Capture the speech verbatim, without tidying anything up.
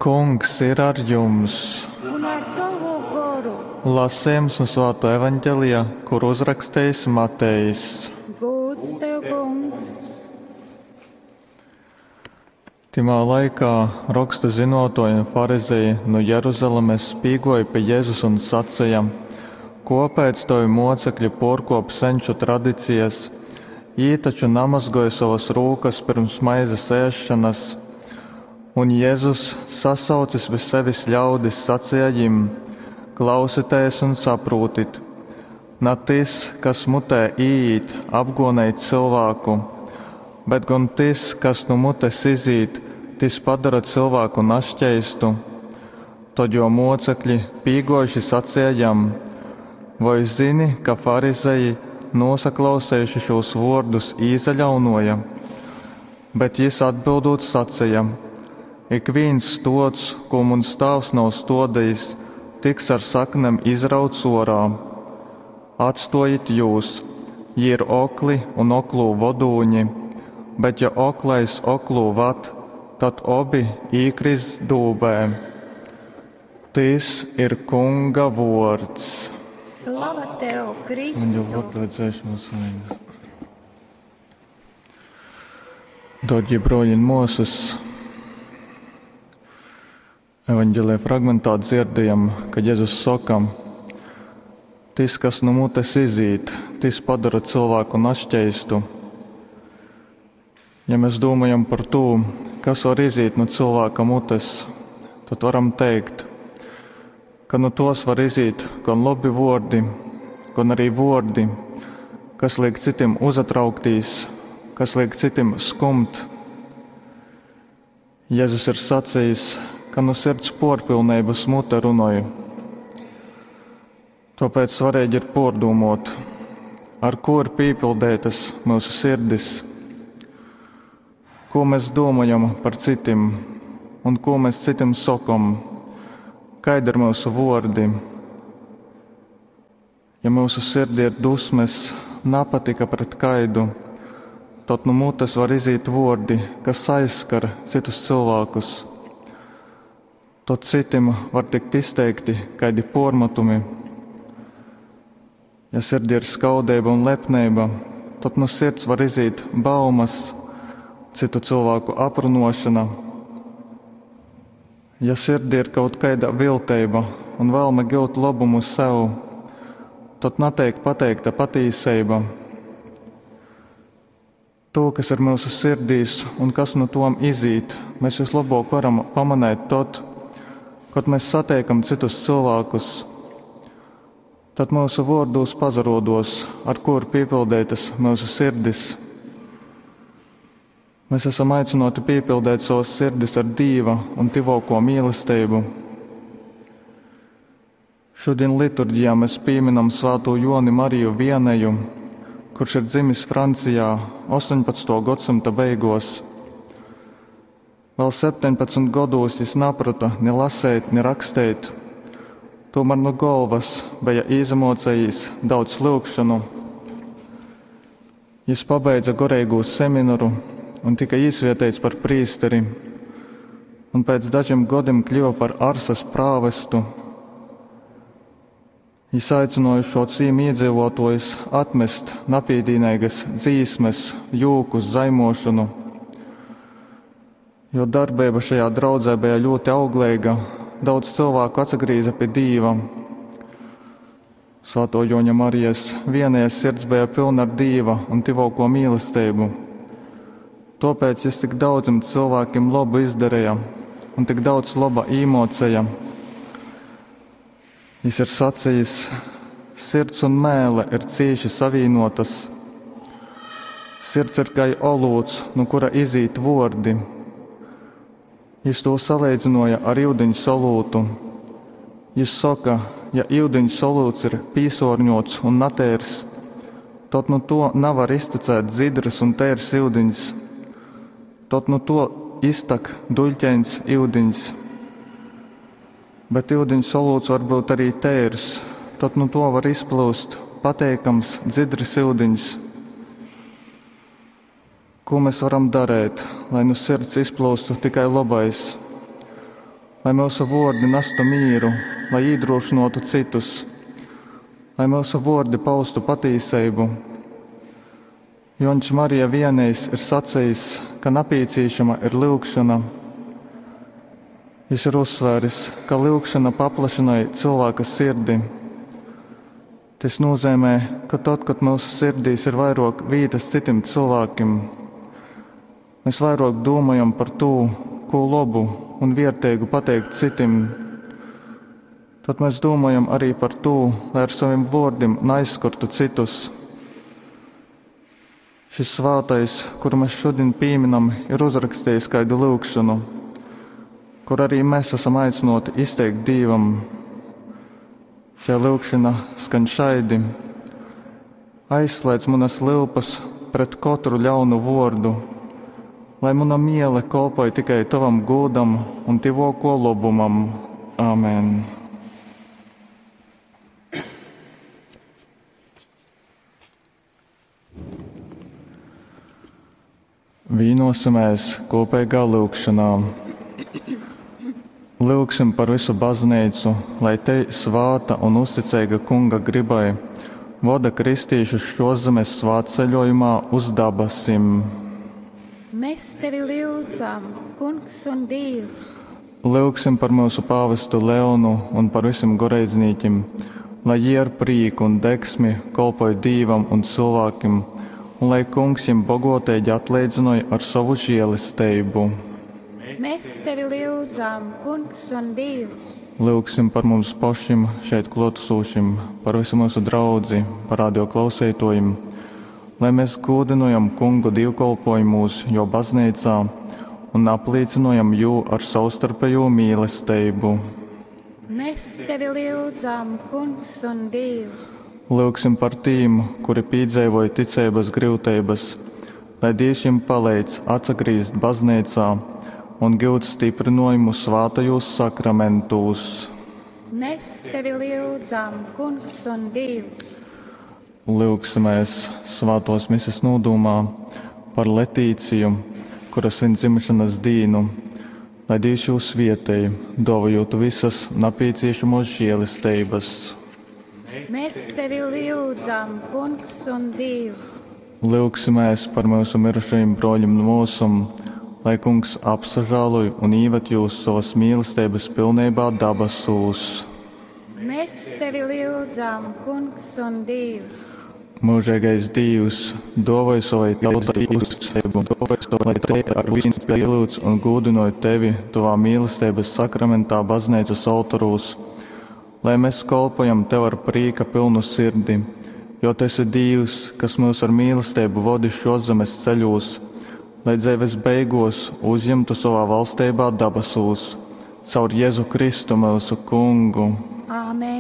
Kungs ir ar jums! Un ar tovu goru. Lasījums no Svāto evaņģelija, kur uzrakstījis Matejs. Gūds tev, kungs! Timā laikā rakstu zinotoji un farizeji no Jeruzalemes pīgoja pie Jēzus un sacīja: Kopēc tavi mocekļi porkop senču tradicijas? Jī taču namazgoja savas rūkas pirms maizes ēšanas. Un Jēzus, sasaucis pie sevis ļaudis, sacīja jim: Klausieties un saprotit! Na tas, kas mutē īīt, apgonēt cilvēku, bet gan tas, kas no mutes izīt, tas padara cilvēku našķeistu. Tad jo mocekļi pīgojuši sacīja jam: Vai zini, ka farizeji, nosaklausējuši šos vārdus, īzaļaunoja? Bet jis atbildot sacīja: Ik viens stots, ko muns tēvs nav stodījis, tiks ar saknēm izrauts orā. Atstojit jūs, jī ir okli un oklū vodūņi, bet ja oklais oklū vad, tad obi īkris dūbē. Tis ir Kunga vords. Slava tev, Kristu! Un jau atliedzēšu mūsu vainas. Dārgie broļi un māsas, evaņģēlijā fragmentā dzirdējam, kad Jēzus saka: Tis, kas no mutes izīt, tis padara cilvēku našķeistu. Ja mēs domājam par to, kas var izīt no cilvēka mutes, tad varam teikt, ka no tos var izīt gan labi vordi, gan arī vordi, kas liek citiem uzatrauktīs, kas liek citiem skumt. Jēzus ir sacījis, ka no sirds porpilnības mute runoju. Tāpēc svarīgi ir pordomot, ar ko ir pīpildētas mūsu sirdis, ko mēs domājam par citiem un ko mēs citiem sakam, kādi ir mūsu vordi. Ja mūsu sirdī ir dusmes, nepatika pret kaidu, tad no mutes var izīt vordi, kas aizskar citus cilvēkus. Tad citim var tikt izteikti kādi pormatumi. Ja sirdī ir skaudība un lepnība, tad no sirds var izīt baumas, citu cilvēku aprunošana. Ja sirdī ir kaut kāda viltība un vēlme gūt labumu sev, tad netiek pateikta patīsība. To, kas ir mūsu sirdīs un kas no tom izīt, mēs vislabāk varam pamanīt tad, kad mēs satiekam citus cilvēkus. Tad mūsu vārdos pazarodos, ar ko ir piepildītas mūsu sirdis. Mēs esam aicināti piepildīt savas sirdis ar Dieva un tivoko mīlestību. Šodien liturģijā mēs pieminam Svēto Joni Mariju Vieneju, kurš ir dzimis Francijā astoņpadsmitā gadsimta beigos. Vēl septiņpadsmit gados jis naprata ni lasēt, ni rakstēt. Tomēr no galvas bija īzamocējis daudz lūgšanu. Jis pabeidza goreigū seminaru un tika īsvietēts par prīsteri, un pēc dažiem gadiem kļuva par Arsas prāvestu. Jis aicināja šo cīmu iedzīvotājus atmest napīdīnīgas dzīsmes, jūkus, zaimošanu, jo darbība šajā draudzē bija ļoti auglīga, daudz cilvēku atsagrīza pie Dīva. Svēto Joņa Marijas vienajā sirds bija pilna ar Dīva un tivoko mīlestību. Tāpēc jis tik daudziem cilvēkiem labu izdarīja un tik daudz laba īmocēja. Jis ir sacījis, sirds un mēle ir cīši savīnotas. Sirds ir kā olūts, no kura izīt vordi. Jis to salīdzināja ar ūdeņu solūtu. Jis saka, ja ūdeņu solūts ir pīsorņots un natērs, tad no to nevar iztecēt dzidrs un tērs ūdeņs. Tad no to iztak duļķēns ūdeņs. Bet ūdeņu solūts var būt arī tērs, tad no to var izplūst pateikams dzidrs ūdeņs. Ko mēs varam darīt, lai no sirds izplūstu tikai labais? Lai myusu vuordi nastu mīru, lai īdrūšynuotu cytus, lai myusu vuordi paustu patīseibu. Juoņs Marija Vianejs ir sacejis, ka napīcīšama ir lyugšona. Jis ir uzsvēris, ka lyugšona paplašynoj cylvāka sirdi. Tys nūzeimē, ka tod, kod myusu sirdīs ir vairuok vītys cytim cylvākim, mēs vairuok dūmojam par tū, kū lobu un vierteigu pateikt cytim, tad mēs dūmojam arī par tū, lai ar sovim vuordim naaizskartu cytus. Šis svātais, kuru mēs šodien pīminam, ir uzrakstījis kaidu lyugšonu, kur arī mēs esam aicināti izteikt Dīvam. Šī lyugšana skan šaidi: Aizslēdz manas lyupas pret kotru ļaunu vuordu, lai muna miele kolpoj tikai Tavam gūdam un tyvōko lobumam. Āmen. Vīnosimies kopīgā lūgšanā. Lūgsim par visu baznīcu, lai te svāta un uzticīga Kunga gribai voda kristīšus šoszemes svētceļojumā uz dabasim. Mēs tevi lyudzam, Kungs un Dievs. Lūgsim par mūsu pāvestu Leonu un par visiem goreidznīkim, lai jie ar prīku un degsmi kolpoj Dīvam un cilvēkim, un lai Kungs jiem bogotīgi atleidzinoja ar savu žēlestību. Mēs tevi lyudzam, Kungs un Dievs. Lūgsim par mums pašiem šeit klātesošiem, par visu mūsu draudzi, par radio klausītājiem, lai mēs gūdinojam Kungu dievkalpojumus, jo baznīcā, un apliecinojam jū ar savstarpējo mīlestību. Mēs tevi lyudzam, Kungs un Dievs. Lūgsim par tīm, kuri piedzīvoja ticības grūtības, lai Dievs jiem palīdz atsagrīzt baznīcā un gūt stiprinājumu svātajos sakramentūs. Mēs tevi lyudzam, Kungs un Dievs. Lūgsimies svātos mises nodūmā par Letīciju, kura svin dzimšanas dīnu, lai Dievs jū svietēj, dāvājot visas nepieciešamos žēlestības. Mēs tevi lyudzam, Kungs un Dievs. Lūgsimies par mūsu mirušajiem broļiem un mūsum, lai Kungs apsažāloj un īved jūs savas mīlestības pilnībā dabasūs. Mēs tevi lyudzam, Kungs un Dievs. Mūžīgais Dievs, dāvāj savai tautai uzticību, lai te ar vienu pielūdz un gūdinoju tevi tavā mīlestības sakramentā baznīcas oltorūs, lai mēs kolpojam tev ar prīka pilnu sirdi, jo tu esi Dievs, kas mūs ar mīlestību vodi šoszemes ceļos, lai dzīves beigos uzņemtu savā valstībā dabasūs, caur Jēzu Kristu mūsu Kungu. Āmen.